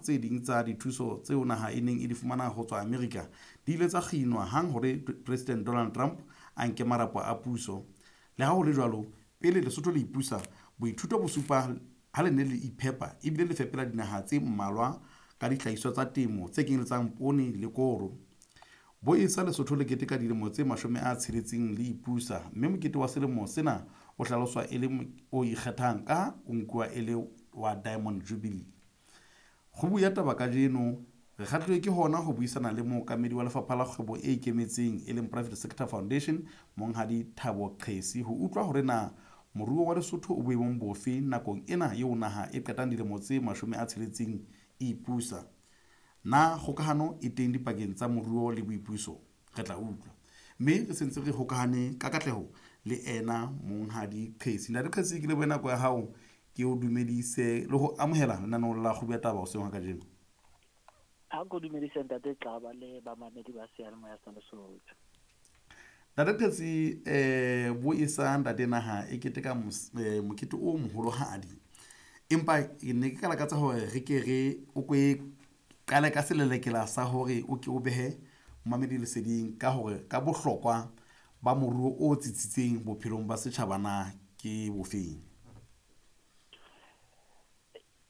tse ding tsa dithuso tseo naha e neng e di fumana ho tswa Amerika di ile tsa kginwa hang hore President Donald Trump a nke marapo a puso. Le ha ho le jwalo, pele Lesotho le ipusa, boithuto bo supa ha le ne le iphepa ebile le fepela dinaha tse mmalwa ka dihlahiswa tsa temo tse kenyeletsang poone le koro. Bo esa Lesotho le keteka dilemo tse 60 le ipusa, mme mokete wa selemo sena o hlaloswa e le o ikgethang ka o nkuwa e le wa Diamond Jubilee. Kgubu ya taba kajeno re kgahlilwe ke hona ho buisana le mookamedi wa lefapha la kgwebo e ikemetseng e leng Private Sector Foundation, Monghadi Thabo Qhesi, ho utlwa hore na moruo wa Lesotho o boemong bofe nakong ena eo naha e qetang dilemo tse 60 e ipusa. Na kgokahano e teng dipakeng tsa moruo le boipuso? Re tla utlwa. Mme re sentse re hokahane ka katleho le ena Monghadi Qhesi. Ntate Qhesi, ke lebohe nako ya hao, ke o dumedise le ho amohela lenaneong la Kgubu ya Taba hoseng ha kajeno. Ha ko dumedise Ntate Xaba le bamamedi ba seyalemoya sa Lesotho. Ntate Qhesi, bo esa ntate naha e keteka mokete o moholohadi. Empa ke ne ke ka lakatsa hore re ke re o ko e qale ka selelekela sa hore o ke o behe momamedi leseding ka hore ka bohlokwa ba moruo o tsitsitseng bophelong ba setjhaba na ke bofeng.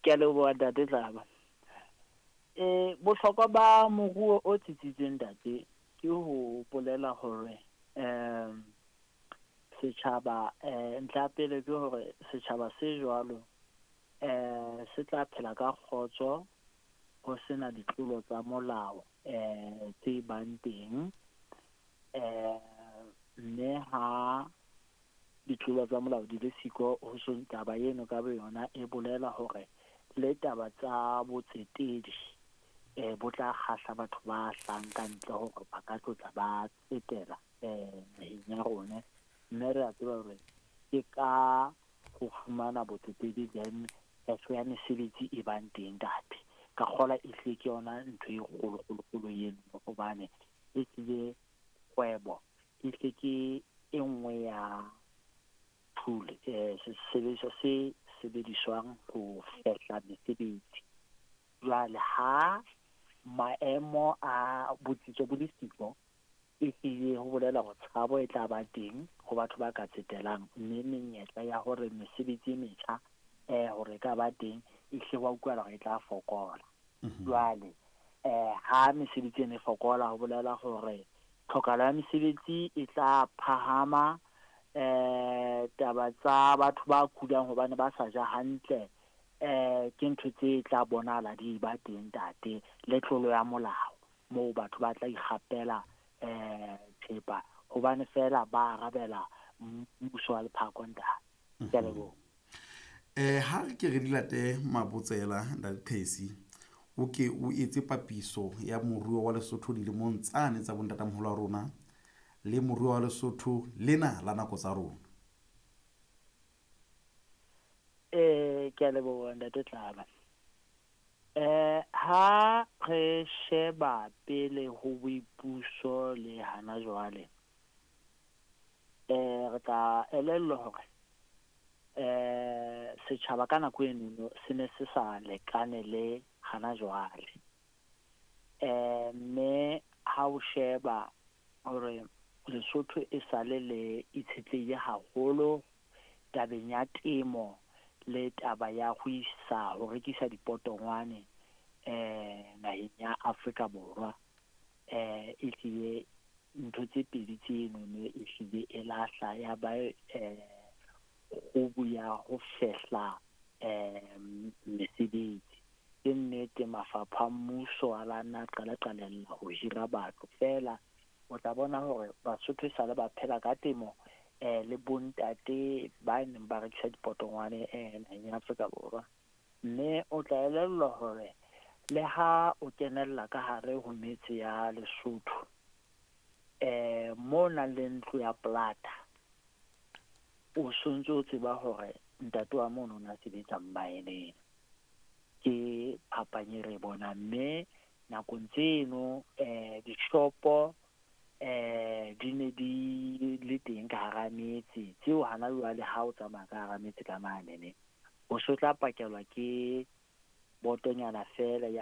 Ke a leboha Ntate Xaba. Bohlokwa ba moruo o tsitsitseng ntate ke ho bolela hore setjhaba ntlha ya pele ke hore setjhaba se jwalo se tla phela ka kgotso, ho sena ditlolo tsa molao tse bang teng, mme ha ditlolo tsa molao di le siko ho so taba eno ka boyona e bolela hore le taba tsa botsetedi bo tla kgahla batho ba hlahang ka ntle hore ba ka tlotla ba tsetela naheng ya rona, mme re a tseba hore ke ka ho fumana botsetedi then kgetho ya mesebetsi e bang teng ntate. Ka kgola e hlile ke yona ntho e kgolo kgolo kgolo eno, hobane e hlile kgwebo e hle ke e nngwe ya tool, sesebediswa se sebediswang ho fehla mesebetsi. Jwale ha maemo a botsitso bo le siko, e hlile ho bolela hore tshabo e tla ba teng ho batho ba ka tsetelang, mme menyetla ya hore mesebetsi e metjha hore e ka ba teng e hle wa utlwahala hore e tla fokola. Jwale ha mesebetsi ena e fokola, ho bolela hore tlhokahalo ya mesebetsi e tla phahama, taba tsa batho ba kulang hobane ba sa ja hantle ke ntho tse tla bonahala di ba teng ntate, le tlolo ya molao moo batho ba tla ikgapela thepa hobane fela ba arabela mmuso wa lephako ntate. Ke a leboha. Ha re ke re di late mabotsela Ntate Qhesi, o ke o etse papiso ya moruo wa Lesotho dilemong tsane tsa bontatamoholo wa rona le moruo wa Lesotho lena la nako tsa rona. Ke a leboha Ntate Tlaba. Ha re sheba pele ho boipuso le hana jwale, re tla elellwa hore setjhaba ka nako eno se ne se sa lekane le hana jwale. Mme ha o sheba hore Lesotho e sale le itshetlehile haholo tabeng ya temo le taba ya ho isa ho rekisa dipotongwane naheng ya Afrika Borwa, e hlile ntho tse pedi tseno ne e hlile e lahla ya ba kgubu ya ho fehla mesebetsi. Ke nnete mafapha a mmuso a la nna qala qalella ho hira batho fela, o tla bona hore Basotho e sale ba phela ka temo le bontate ba neng ba rekisa dipotongwane naheng ya Afrika Borwa. Mme o tla elellwa hore le ha o kenella ka hare ho metse ya Lesotho, mo nang le ntlo ya plata, o sontso o tseba hore ntate wa mono o na sebetsa mmaeneng. Ke phapang e re bonang, mme nakong tseno dishopo di ne di le teng ka hara metse, tseo hana jwale ha o tsamaya ka hara metse ka mane ne o so tla pakelwa ke botonyana fela ya